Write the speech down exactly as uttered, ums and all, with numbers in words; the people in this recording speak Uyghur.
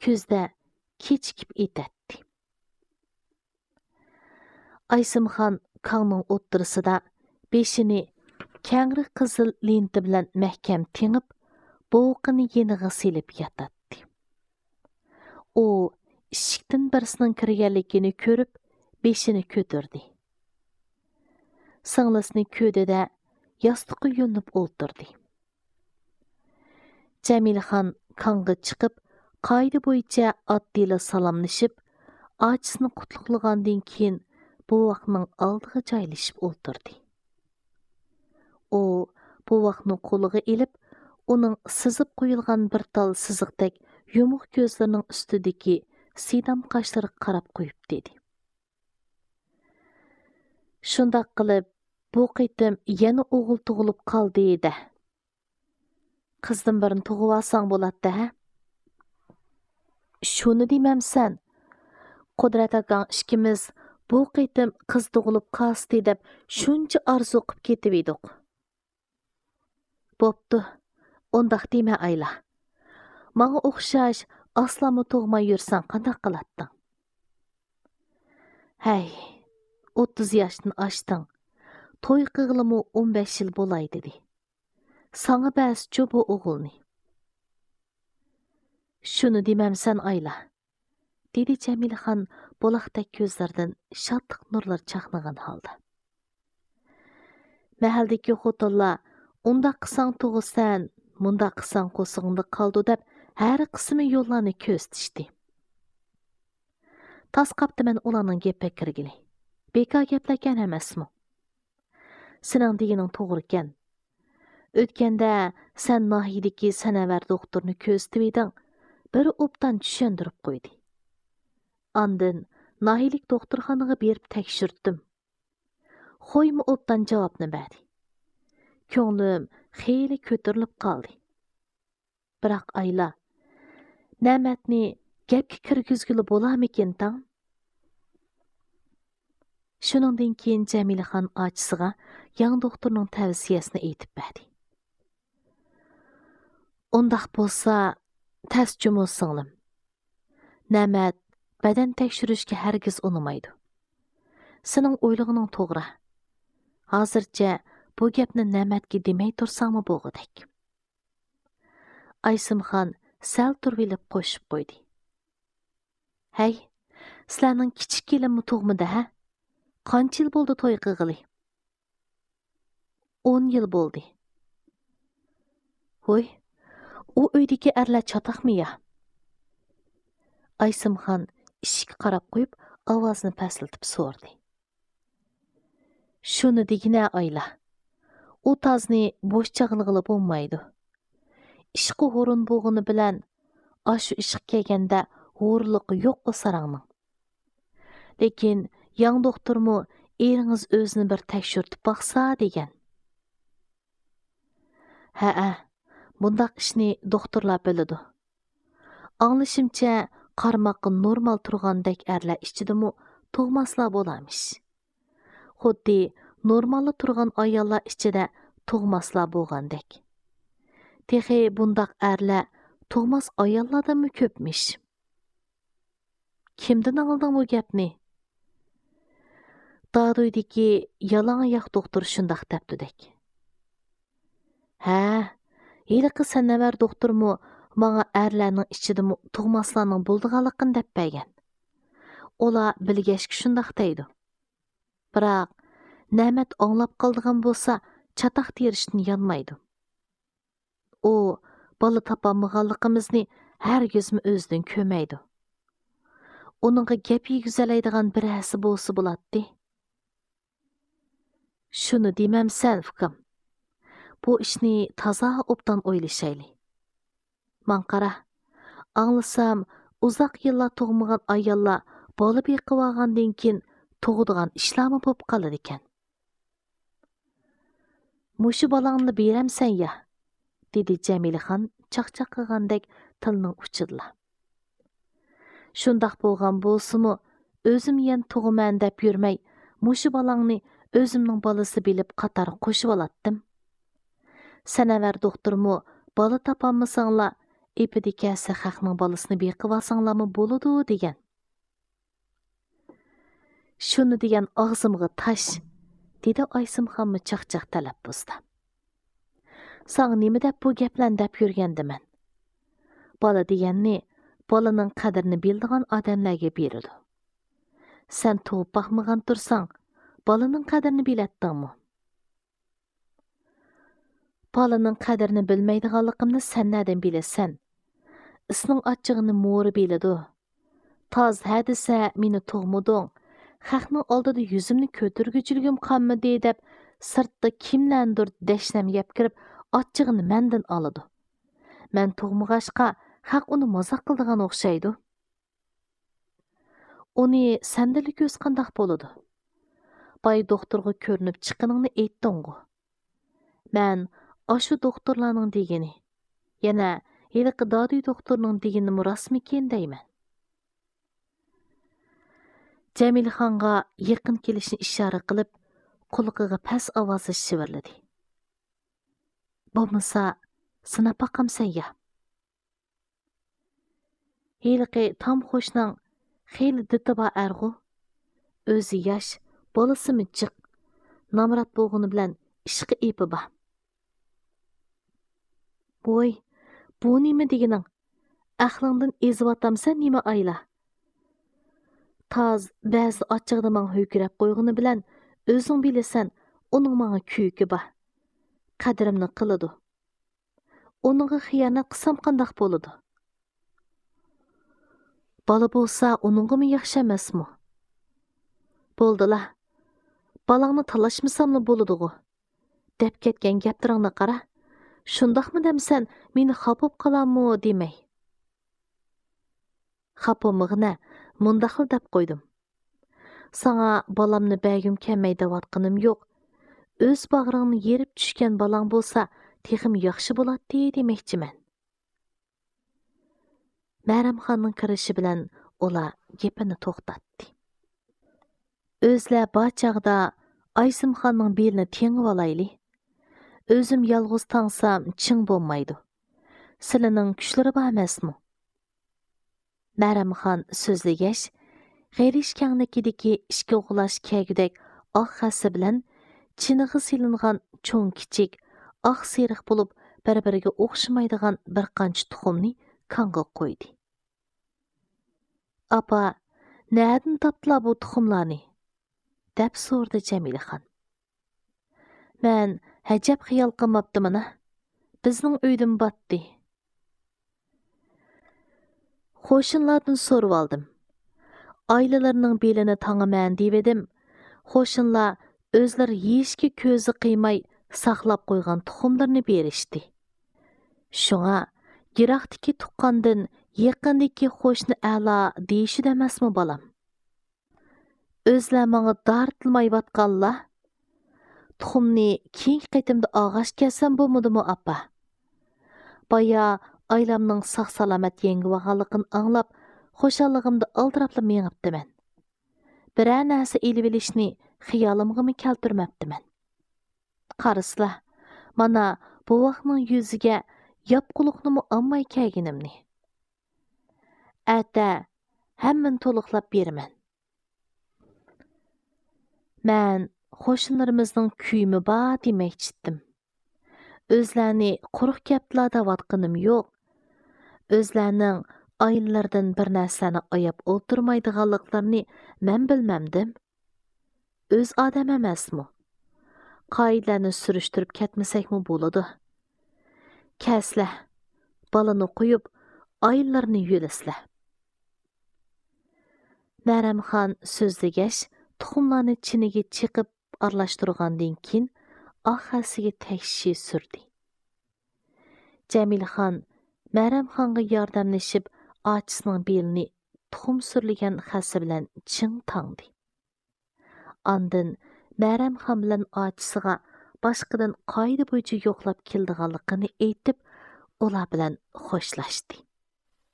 كۆزدە كېچىكىپ ئېتەتتى. ئايسىمخان كاڭنىڭ ئوتتۇرىسىدا بېشىنى كەڭرى قىزىل لېنتا بىلەن مەھكەم تېڭىپ، بوۋىقىنى يېنىغا سېلىپ ياتاتتى. ئۇ ئىشىكتىن بىرسىنىڭ كىرگەنلىكىنى كۆرۈپ، بېشىنى كۆتۈردى. سىڭلىسىنى كۆردى-دە، ياستۇققا يۆلىنىپ ئولتۇردى. جەمىلىخان كاڭغا چىقىپ، قائىدە بويىچە ئاددىيلا سالاملىشىپ، ئاچىسىنى قۇتلۇقلىغاندىن كېيىن، بوۋاقنىڭ ئالدىغا جايلىشىپ ئولتۇردى. ئۇ بوۋاقنى قولىغا ئېلىپ، ئۇنىڭ سىزىپ قويۇلغان بىر تال سىزىقتەك يۇمۇق كۆزلىرىنىڭ ئۈستىدىكى سىدام قاشلىرىغا قاراپ قويۇپ دېدى: «شۇنداق قىلىپ، بۇ قېتىم يەنە ئوغۇل تۇغۇلۇپ قالدى-دە. قىزدىن بىرنى تۇغۇۋالساڭ بولاتتى، ھە؟» «شۇنى دېمەمسەن. قۇدرەت ئاكاڭ ئىككىمىز بۇ قېتىم قىز تۇغۇلۇپ قالسىتى دەپ شۇنچە ئارزۇ قىپ كېتىۋىدۇق.» «بوپتۇ، ئۇنداق دېمە ئايلا. ماڭا ئوخشاش ئاسلانمۇ تۇغماي يۈرسەڭ قانداق قىلاتتىڭ؟» «ھەي، ئوتتۇز ياشتىن ئاشتىڭ. توي قىغىلىمۇ ئون بەش يىل بولاي» دېدى. «ساڭا بەرسىچۇ بۇ ئوغۇلنى؟» «شۇنى دېمەمسەن ئايلا»، دېدى جەمىلىخان بۇلاقتەك كۆزلىرىدىن شادلىق نۇرلىرى چاقنىغان ھالدا. «مەھەللىدىكى خوتۇنلار، ئۇنداق قىلساڭ تۇغىسەن، مۇنداق قىلساڭ قورسىقىڭدا قالىدۇ دەپ، ھەر قىسمى يوللارنى كۆرسىتىشتى. تاس قاپتىمەن ئۇلارنىڭ گېپىگە كىرگىلى. بىكار گەپلەركەن ئەمەسمۇ؟ سېنىڭ دېگىنىڭ توغرىكەن. ئۆتكەندە سەن ناھىيىدىكى سەنەۋەر دوختۇرنى كۆرسىتىۋىدىڭ، بىر ئوبدان چۈشەندۈرۈپ قويدى. ئاندىن ناھىيىلىك دوختۇرخانىغا بېرىپ تەكشۈرتتۈم. خويمۇ ئوبدان جاۋابنى بەردى. كۆڭلۈم خېلى كۆتۈرۈلۈپ قالدى. بىراق ئايلا، نەمەتنى گەپكە كىرگۈزگىلى بولارمىكىن تاڭ؟» شۇنىڭدىن كېيىن جەمىلىخان ئاچىسىغا ياڭ دوختۇرنىڭ تەۋسىيەسىنى ئېيتىپ بەردى. «ئۇنداق بولسا، تەس جۇمۇ سىڭلىم. نەمەت بەدەن تەكشۈرۈشكە ھەرگىز ئۇنىمايدۇ. سېنىڭ ئويلىغىنىڭ توغرا. ھازىرچە بۇ گەپنى نەمەتكە دېمەي تۇرساڭمۇ بولغۇدەك.» ئايسىمخان سەل تۇرۇۋېلىپ قوشۇپ قويدى: «ھەي، سىلەرنىڭ كىچىك كېلىنمۇ تۇغمىدى ھە؟ قانچە يىل بولدى توي قىلغىلى؟» «ئون يىل بولدى.» «ھوي، ئۇ ئۆيدىكى ئەرلەر چاتاقمۇ يا؟» ئايسىمخان ئىشىككە قاراپ قويۇپ، ئاۋازىنى پەسلىتىپ سورىدى. «شۇنى دېگىنە ئايلا، ئۇ تازنى بوش چاغلىغىلى بولمايدۇ. ئىشقا ھۇرۇن بولغىنى بىلەن، ئاشۇ ئىشقا كەلگەندە ھۇرۇنلۇقى يوق ئۇ ساراڭنىڭ. لېكىن ياڭ دوختۇرمۇ ئېرىڭىز ئۆزىنى بىر تەكشۈرتۈپ باقسا دېگەن.» «ھەئە، بۇنداق ئىشنى دوختۇرلار بىلىدۇ. ئاڭلىشىمچە، قارىماققا نورمال تۇرغاندەك ئەرلەر ئىچىدىمۇ تۇغماسلار بولارمىش. خۇددى نورماللا تۇرغان ئاياللار ئىچىدە تۇغماسلار بولغاندەك. تېخى بۇنداق ئەرلەر تۇغماس ئاياللاردىنمۇ كۆپمىش.» «كىمدىن ئاڭلىدىڭ بۇ گەپنى؟» «دادۇيدىكى يالاڭ ئاياق دوختۇر شۇنداق دەپتۇدەك.» «ھە، ھېلىقى سەنەۋەر دوختۇرمۇ ماڭا ئەرلەرنىڭ ئىچىدىمۇ تۇغماسلارنىڭ بولىدىغانلىقىنى دەپ بەرگەن. ئۇلار بىلگەچكە شۇنداق دەيدۇ. بىراق، نەمەت ئاڭلاپ قالىدىغان بولسا، چاتاق تېرىشتىن يانمايدۇ. ئۇ بالا تاپالمىغانلىقىمىزنى ھەرگىزمۇ ئۆزىدىن كۆرمەيدۇ. ئۇنىڭغا گەپ يېگۈزەلەيدىغان بىرەرسى بولسا بولاتتى.» «شۇنى دېمەمسەن، ئۇكام. بۇ ئىشنى تازا ئوبدان ئويلىشايلى. ماڭا قارا، ئاڭلىسام، ئۇزاق يىللار تۇغمىغان ئاياللار بالا بېقىۋالغاندىن كېيىن تۇغىدىغان ئىشلارمۇ بولۇپ قالىدىكەن.» «مۇشۇ بالاڭنى بېرەمسەن يا؟» دېدى جەمىلىخان چاقچاق قىلغاندەك تىلىنىڭ ئۇچىدىلا. «شۇنداق بولغان بولسىمۇ، ئۆزۈم يەنە تۇغىمەن دەپ يۈرمەي، مۇشۇ بالاڭنى ئۆزۈمنىڭ بالىسى بىلىپ قاتارغا قوشۇۋالاتتىم. سەنەۋەر دوختۇرمۇ، بالا تاپالمىساڭلار، ئېپىدىكى ھەسسە خەقنىڭ بالىسىنى بېقىۋالساڭلارمۇ بولىدۇ دېگەن. شۇنى دېگەن ئاغزىمغا تاش، دېدى ئايسىمخانمۇ چاقچاق تەلەپپۇزدا. ساڭا نېمە دەپ بۇ گەپلەرنى دەپ يۈرگەندىمەن؟ بالا دېگەننى بالىنىڭ قەدرىنى بىلىدىغان ئادەملەرگە بېرىدۇ. سەن تۇغۇپ باقمىغان تۇرساڭ، بالىنىڭ قەدرىنى بىلەتتىڭمۇ؟ بالىنىڭ قەدرىنى بىلمەيدىغانلىقىمنى سەن نەدىن بىلىسەن؟ ئىسنىڭ ئاچچىقىنى مورا بىلىدۇ. تاز ھە دېسە، مېنى تۇغمىدىڭ، خەقنىڭ ئالدىدا يۈزۈمنى كۆتۈرگۈچىلىكىم قالمىدى دەپ، سىرتتا كىملەندۇر دەشنەم يەپ كىرىپ، ئاچچىقىنى مەندىن ئالىدۇ. مەن تۇغمىغاچقا، خەق ئۇنى مازاق قىلىدىغان ئوخشايدۇ. ئۇنى سەندىنلا كۆرسە قانداق بولىدۇ؟ بايا دوختۇرغا كۆرۈنۈپ چىققىنىڭنى ئېيتتىڭغۇ؟ مەن ئاشۇ دوختۇرلارنىڭ دېگىنى، يەنە ھېلىقى دادۈي دوختۇرنىڭ دېگىنىمۇ راستمىكىن دەيمەن. جەمىلىخانغا يېقىن كېلىشنى ئىشارە قىلىپ، قۇلىقىغا پەس ئاۋازدا شىۋىرلىدى: بولمىسا، سىناپ باقامسەن يا؟ ھېلىقى تام قوشناڭ خېلى دىتى بار ئەرغۇ. ئۆزى ياش، بالىسىمۇ جىق. نامرات بولغىنى بىلەن ئىشقا ئېپى بار. ۋوي، بۇ نېمە دېگىنىڭ؟ ئەقلىڭدىن ئېزىۋاتامسەن نېمە ئايلا؟ تاز بەزىدە ئاچچىقىدا ماڭا ھۆركىرەپ قويغىنى بىلەن، ئۆزۈڭ بىلىسەن، ئۇنىڭ ماڭا كۆيۈكى بار. قەدرىمنى قىلىدۇ. ئۇنىڭغا خىيانەت قىلسام قانداق بولىدۇ؟ بالا بولسا ئۇنىڭغىمۇ ياخشى ئەمەسمۇ؟ بولدىلا، بالاڭنى تالاشمىساملا بولىدىغۇ. دەپ كەتكەن گەپلىرىڭنى قارا. شۇنداقمۇ دەمسەن، مېنى خاپا بولۇپ قالارمۇ دېمەي. خاپا بولمىغىنە، مۇنداقلا دەپ قويدۇم. ساڭا بالامنى بەرگۈم كەلمەي دەۋاتقىنىم يوق. ئۆز باغرىڭنى يېرىپ چۈشكەن بالاڭ بولسا، تېخىمۇ ياخشى بولاتتى دېمەكچىمەن. مەرەمخاننىڭ كىرىشى بىلەن ئۇلار گېپىنى توختاتتى. ئۆزلەر بار چاغدا ئايسىمخاننىڭ بېلىنى تېڭىۋالايلى. ئۆزۈم يالغۇز تاڭسام چىڭ بولمايدۇ. سىلىنىڭ كۈچلىرى بار ئەمەسمۇ؟ مەرەمخان سۆزلىگەچ، غېرىش كەڭلىكىدىكى ئىككى غۇلاچ كەگۈدەك ئاق خەسسە بىلەن چىنىغا سېلىنغان چوڭ-كىچىك، ئاق-سېرىق بولۇپ، بىر-بىرىگە ئوخشىمايدىغان بىر قانچە تۇخۇمنى كاڭغا قويدى. ئاپا، نەدىن تاپتىلا بۇ تۇخۇملارنى؟ دەپ سورىدى جەمىلىخان. مەن ھەجەپ خىيال قىلماپتىمەن ھە. بىزنىڭ ئۆيدىن باتتى. قوشنىلاردىن سورىۋالدىم. ئائىلىلىرىنىڭ بېلىنى تاڭىمەن دېيىۋىدىم. قوشنىلار ئۆزلىرى يېيىشكە كۆزى قىيماي ساقلاپ قويغان تۇخۇملىرىنى بېرىشتى. شۇڭا يىراقتىكى تۇغقاندىن يېقىندىكى قوشنا ئەلا دېيىشىدۇ ئەمەسمۇ بالام؟ ئۆزلەر ماڭا دارتىلمايۋاتقانلا. تۇخۇمنى كېيىنكى قېتىمدا ئالغاچ كەلسەم بولمىدىمۇ، ئاپا؟ بايا ئايلامنىڭ ساق-سالامەت يەڭگىۋالغانلىقىنى ئاڭلاپ، خۇشاللىقىمدا ئالدىراپلا مېڭىپتىمەن. بىرەر نەرسە ئېلىۋېلىشنى خىيالىمغىمۇ كەلتۈرمەپتىمەن. قارىسىلا، مانا بوۋاقنىڭ يۈزىگە ياپقۇلۇقنىمۇ ئالماي كەلگىنىمنى. ئەتە ھەممىنى تولۇقلاپ بېرىمەن. مەن قوشنىلىرىمىزنىڭ كۆيۈمى بار دېمەكچىتتىم. ئۆزلەرنى قۇرۇق گەپلا دەۋاتقىنىم يوق. ئۆزلەرنىڭ ئائىلىلىرىدىن بىر نەرسىلەرنى ئاياپ ئولتۇرمايدىغانلىقلىرىنى مەن بىلمەمدىم؟ ئۆز ئادەم ئەمەسمۇ؟ قائىدىلەرنى سۈرۈشتۈرۈپ كەتمىسەكمۇ بولىدۇ. كەلسىلە، بالىنى قويۇپ، ئائىلىلىرىنى يۆلىسىلە. مەرەمخان سۆزلىگەچ، تۇخۇملارنى چىنىگە چېقىپ ئارىلاشتۇرغاندىن كېيىن، ئاق خەسسىگە تەكشى سۈردى. جەمىلىخان مەرەمخانغا ياردەملىشىپ، ئاچىسىنىڭ بېلىنى تۇخۇم سۈرۈلگەن خەسسە بىلەن چىڭ تاڭدى. ئاندىن مەرەمخان بىلەن ئاچىسىغا باشقىدىن قائىدە بويىچە يوقلاپ كېلىدىغانلىقىنى ئېيتىپ، ئۇلار بىلەن خوشلاشتى.